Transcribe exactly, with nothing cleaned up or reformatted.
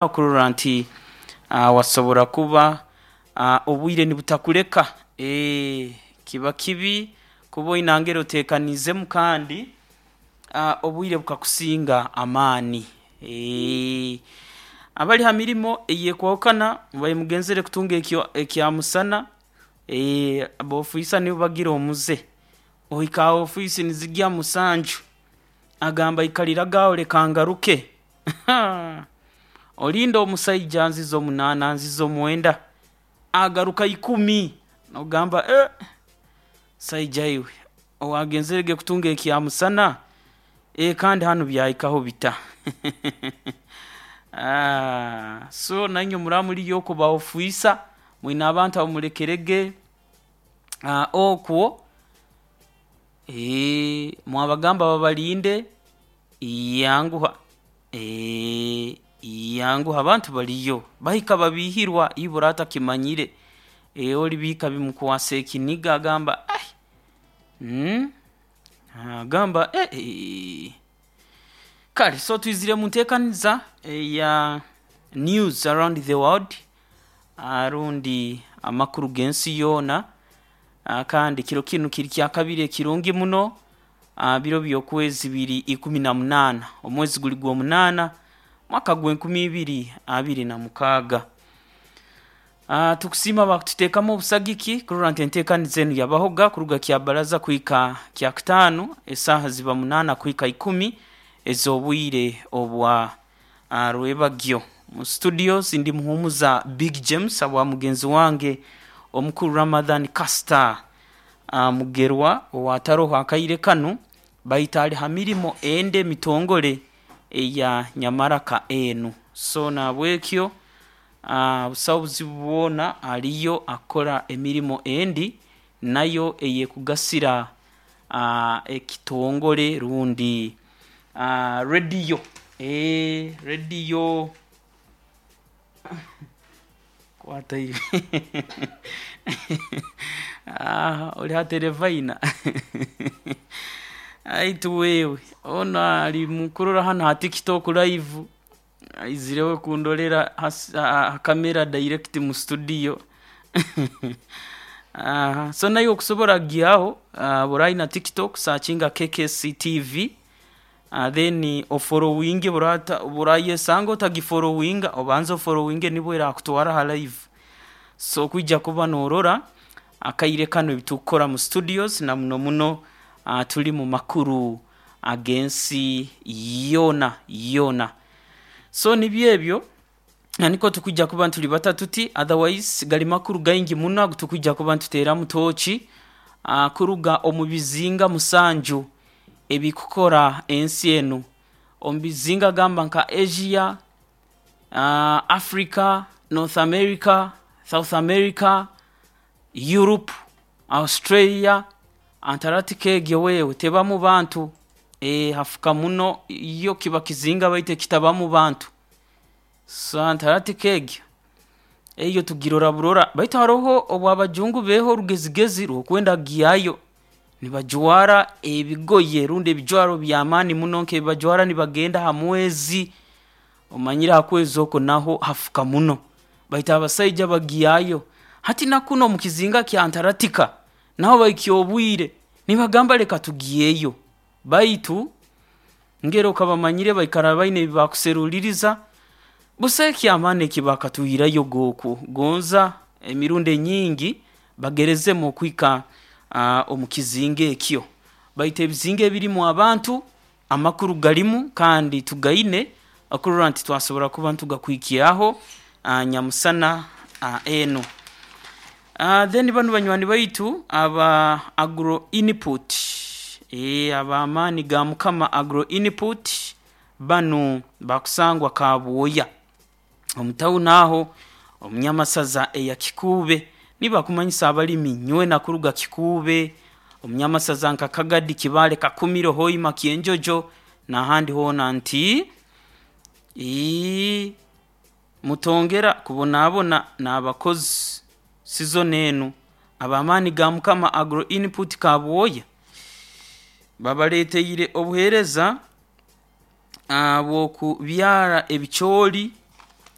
Okurora nti uh, wasobora kuba uh, obwire nibutakuleka eh, kiba kibi kuba oinangere oteekaniizemu kandi uh, obwire bukakusinga amaani. Eh, abali ha mirimo eyekwahukana mubaire mugenzere kutunga ekyo ekyamusana, eh, ab'ofiisa nibo bagira omuze, ohika ha ofiisi nizigya musanju, agamba ikaliraga aho leka ngaruke. Haa, olinda omusaija anzize omunaana, anzize omwenda, agaruka ikumi, noogamba eeh, musaija iwe owagenzerege kutunga ekyamusana, eh kandi hanu byahikaho bita? Aah so nainywe muraaba muliyo okwo ba ofiisa mwina abantu abu mulekerege aah okwo, eeh mwabagamba babalinde, yanguha, eeh yanguha abantu baliyo bahika babiihirwa iwe oraaba otakimanyire, eeh oli bihika bimukwasa ekiniga agamba ai mmh agamba eh eh kale so twizire munteekaniza eya news around the world rundi amakuru g'ensi yoona, kandi kiro kinu kiri kyakabiri ekirungi muno, biro by'okwezi biri ikumi na munaana, omwezi guli gw'omunaana, mwaka gw'enkumi ibiri abiri na mukaaga. Tukusiima abakututeekamu obusagiki kurora nti enteekaniza enu yabahoga kuruga Kyabaraza kuhika Kyakutaano esaaha ziba munaana kuhika ikumi ez'obwire obwa rwebagyo. Mu studios ndi Muhumuza Big James habwa mugenzi wange omukuru Ramadhan Castor Mugerwa owaataroho akaire kanu baitu ali ha mirimo endi emitongole eya nyamaraka enu. So na habwekyo busaho buzibu bwona aliyo akukora emirimo endi nayo eyekugasira ekitongole rundi rediyo, eeh rediyo kwata iwe oli ha Terefayina haitu wewe onu ali mukurora hanu ha TikTok live, aizireho kundolera ha ha camera direct mu studio. So naiwe okusobora kugyaho, obu oraaba oina TikTok searchinga K K C T V then ofollowinge obu orayesanga otagifollowinga, obanze ofollowinge nubwo eraakutwara ha live, so okwija kuba noorora akaire kanu ebi tukukora mu studios na muno muno tuli mu makuru ag'ensi yoona yoona. So nibyo ebyo, nikwo tukwija kuba nitulibata tuti otherwise gali makuru gaingi muno agu tukwija kuba nituteeramu tooci kuruga omu bizinga musanju ebikukora ensi enu. Omu bizinga gamba nka Asia, Africa, North America, South America, Europe, Australia, Antaractica egyo wewe tebamu bantu, eeh hafuka muno yo kiba kizinga baitu ekitabamu bantu. So Antaractica egyo, eyo tugirora burora baitu haroho obu abajungu beeha orugezigezi rw'okwenda kugyayo, nibajwara ebigoye rundi ebijwaro by'amaani muno nk'ebi bajwara nibagenda ha mwezi, omanyire ha kwezi oku naho hafuka muno, baitu abasaija bagyayo. Hati na kunu omu kizinga kya Antaractica naho bahikya obwire nibagamba leka tugyeyo, baitu ngero okabamanyire baikara baina ebi bakuseruliiriza, busaho eky'amaani eki baakatwihirayoga oku, gonza emirundi enyingi bagerezemu okuhika omu kizinga ekyo. Baitu ebizinga ebirimu abantu, amakuru galimu kandi tugaine okurora nti twasobora kuba nitugakuhikyaho nyamusana enu. Then banu banywani baitu aba Agro Input, eeh ab'Amaani ga Mukama Agro Input banu bakusangwa Kabwoya omu town aho omu Nyamasaza eya Kikuube. Nibo bakumanyisa abalimi nywena kuruga Kikuube, omu Nyamasaza nka Kagadi, Kibaale, Kakumiro, Hoima, Kyenjojo n'ahandi hoona nti iii mutongera kubonabona n'abakozi season enu. Ab'Amaani ga Mukama Agro Input Kabwoya babaleeteire obuheereza bw'okubyara ebicooli.